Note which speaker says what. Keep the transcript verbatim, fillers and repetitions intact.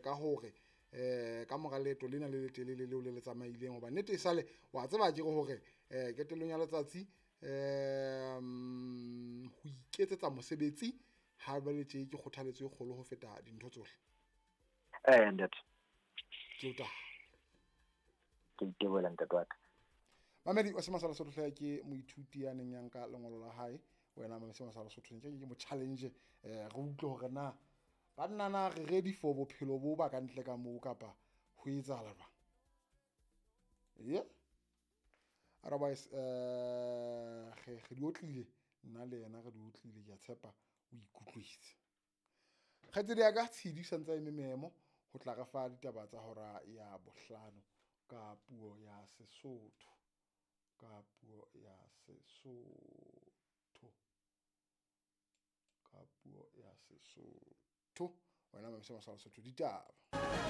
Speaker 1: ka hore eh ka mora leeto lena le letelele leo le le tsamaileng, hoba nnete e sale wa tseba ke hore eh qetellong ya letsatsi um ho iketsetsa mosebetsi ha jwale tje ke kgothaletso e kgolo ho feta dintho tsohle.
Speaker 2: Eh ntate.
Speaker 1: Ke o taha.
Speaker 2: Ke itebohela ntate wa ka.
Speaker 1: Mamedi wa Sema sa Lesotho hle, ke moithuti ya neng ya nka lengolo la hae. Wena mamedi Sema sa Lesotho, nke ke mo challenge, eh re utlwe hore na banna na re ready for bophelo bo ba ka ntle ka moo kapa ho etsahala jwang. Yeah. Otherwise eh re re di otlile nna le yena, re di otlile, ke a tshepa o ikutlwetse. Kgaitsedi ya ka Tshidi santse a eme memo ho tla re fa ditaba tsa hora ya bohlano ka puo ya Sesotho, ka puo ya Sesotho, ka puo ya Sesotho. Wena mamedi Sema sa Lesotho, ditaba.